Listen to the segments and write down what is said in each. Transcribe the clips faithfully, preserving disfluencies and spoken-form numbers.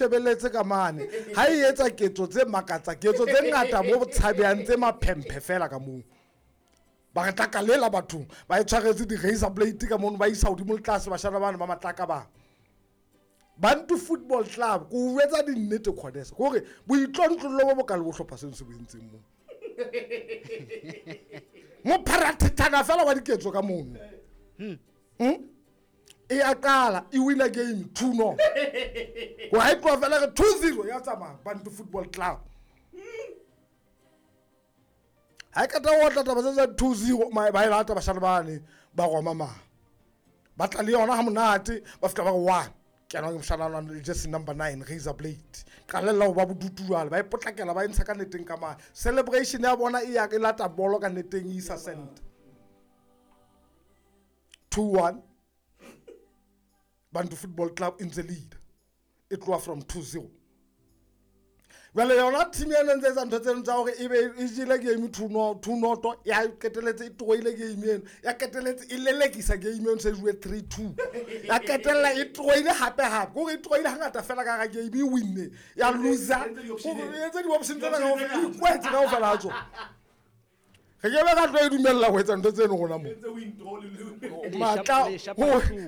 Shebeletse ka mane ha e etsa ketso tse makatsa, ketso tse ngata bo tshabehang tse maphemphe fela ka moo. Ba re tlaka lela bathong, ba e tshwaretse di-razor blade ka mono, ba isa hodimo le tlase bashana bana ba matlaka ba. Bantu Football Club, ko o etsa dinnete Khodesa, hore boitlontlollo bo bokalo bo hlopha seno se bo entseng moo. Mopharathetana fela wa diketso ka mono. Hmm? E a qala, e wina game two no. Wa e tloha fela re two zero ya tsamaya Bantu Football Club. Ha e qeta ho otla taba tse tsa two zero, ba e lata bashana bane ba roma ma. Ba tla le yona ha monate, ba fihla ba re one. Ke ena moshana wa le jersey number nine, razor blade. Qalella ho ba bodutu jwale, ba e potlakela, ba e ntsha ka neteng ka mane. Celebration ya bona e ya e lata bolo ka neteng e isa center. two one. Bantu Football Club in the lead. E tloha from two zero. Jwale yona team ena ntse etsa ntho tseno tsa hore ebe e jele game two no, two noto, ya qeteletse e tlohile game eno, ya qeteletse e lelekisa game eno, se jowe three two. Ya qetella e tlohile hape hape. Ke hore e tlohile hangata fela ka hara game, e winne, ya loser. E entse di-option tsena kaofela, e ikwetse kaofela ha tsona. Re ke be ka tlo e dumella ho etsa ntho tseno rona mo. Matla,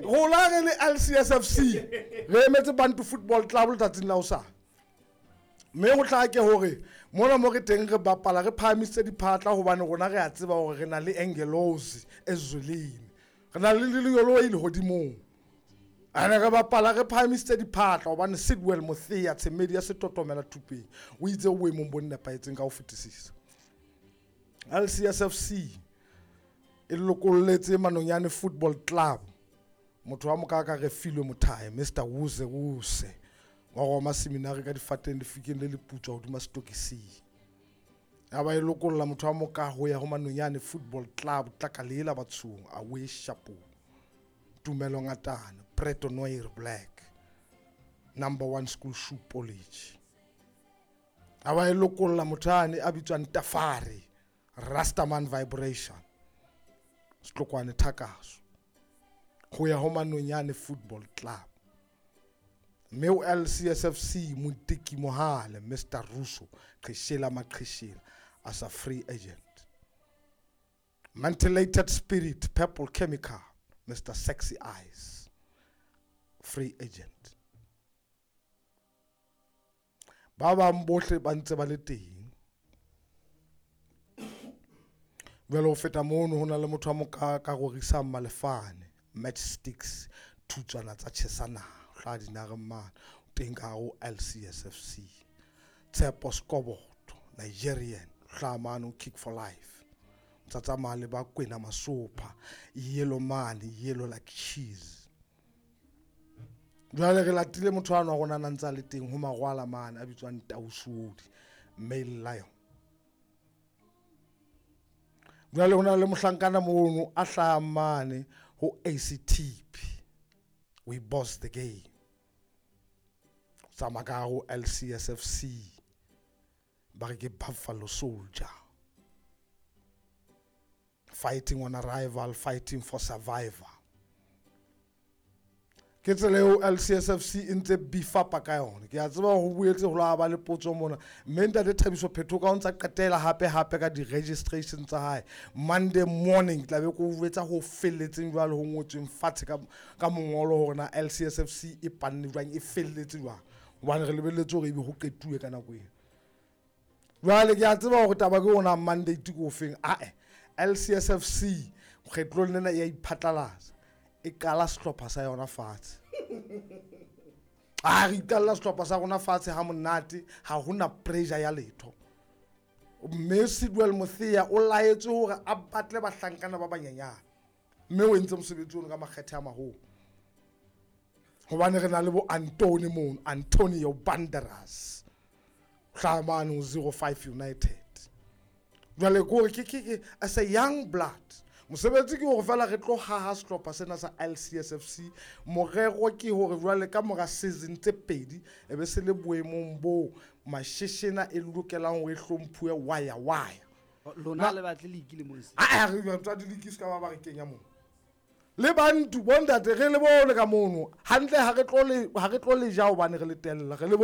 rona re le L C S F C, re emetse Bantu Football Club letsatsing la hosane. Mme ho tla ke hore mona mo re teng re bapala re phahamisitse diphatla hobane rona re a tseba hore re na le Angelos Ezulini. Re na le Lelolo e lehodimong. Ane re bapala re phahamisitse diphatla hobane Sidwell Mothea Tshemedi ya setotomela thupeng o itse o boemong bo nepahetseng ka ho fetisisa. L C S F C e lokolletse Manonyane Football Club. Motho wa mokaka re filwe mothae Mister Wuse Wuse wa Roma Seminary ka difateng lefikeng le leputswa hodima setokising. Ya ba e lokolla motho wa moka ho ya ho Manonyane Football Club Tlakalela Batshong away Shapo. Tumelo Ngatana Preto Noir Black number one school shoe polish. Ya ba e lokolla motho ane a bitswang Tafari Rastaman Vibration Setlokwane Thakaso ho ya ho Manonyane Football Club. Mme o L C S F C Motiki Mohale Mister Russo Qheshela Maqheshela as a free agent. Mentilated Spirit Purple Chemical Mister Sexy Eyes free agent. Ba bang bohle ba ntse ba le teng. Jwale ho feta mono ho na le motho wa moka ka rorisang Malefane Matchsticks thutswana tsa tjhesana hla dinare mane teng ka ho L C S F C. Tshepo Skoboto Nigerian hla mane Kick for Life. Tsa tsamaya le ba Kwena Masopha yellow man yellow like cheese. Jwale re latile motho wa rona a ntse a le teng ho Magwala mane a bitswang Tausudi Male Lion. Jwale ho na le mohlankana mono a hlahang mane ho A C T P. We boss the game. Tsamaya ka ho L C S F C. Ba re ke Buffalo Soldier. Fighting on arrival, fighting for survival. Ke tsela eo L C S F C e ntse beef-apa ka yona. Ke a tseba ho boetse ho la ba le potso mona. Mme ntate Thabiso Phetho ka o ntsa qetela hape hape ka di-registration tsa hae. Monday morning tla be ko etsa ho felletseng jwale ho ngotsweng fatshe ka, ka mongolo hore na L C S F C e panne jwang, e felletse jwang. Hobane re lebelletse hore ebe ho qetuwe ka nako eo. Jwale ke a tseba hore taba ke yona mandate ke ofeng. Ae, L C S F C kgetlong lena e a iphatlalatsa. E qala sehlopha sa yona fatshe. A re iqalla sehlopha sa rona fatshe ha monate, ha hona pressure ya letho. Mme Sidwell Mothea o laetswe hore a batle bahlankana ba banyenyane. Mme o entse mosebetsi ono ka makgethe a maholo. Hobane re na le bo Anthony mono, Antonio Banderas. Hlaha mane ho zero five United. Jwale ke hore ke, ke, ke, as a young blood, mosebetsi ke hore fela re tlo haha sehlopha sena sa L C S F C. Morero ke hore jwale ka mora season tse pedi e be se le boemong bo masheshena e lokelang hore e hlomphuwe waya waya. Lona le batle league le mo se. Ah, ah, re tla di league se ka ba ba re kenya moo. Le bantu bontate re le bone ka mono. Hantle ha re tlo le ha re tlo le ja hobane re le tella. Re le bone.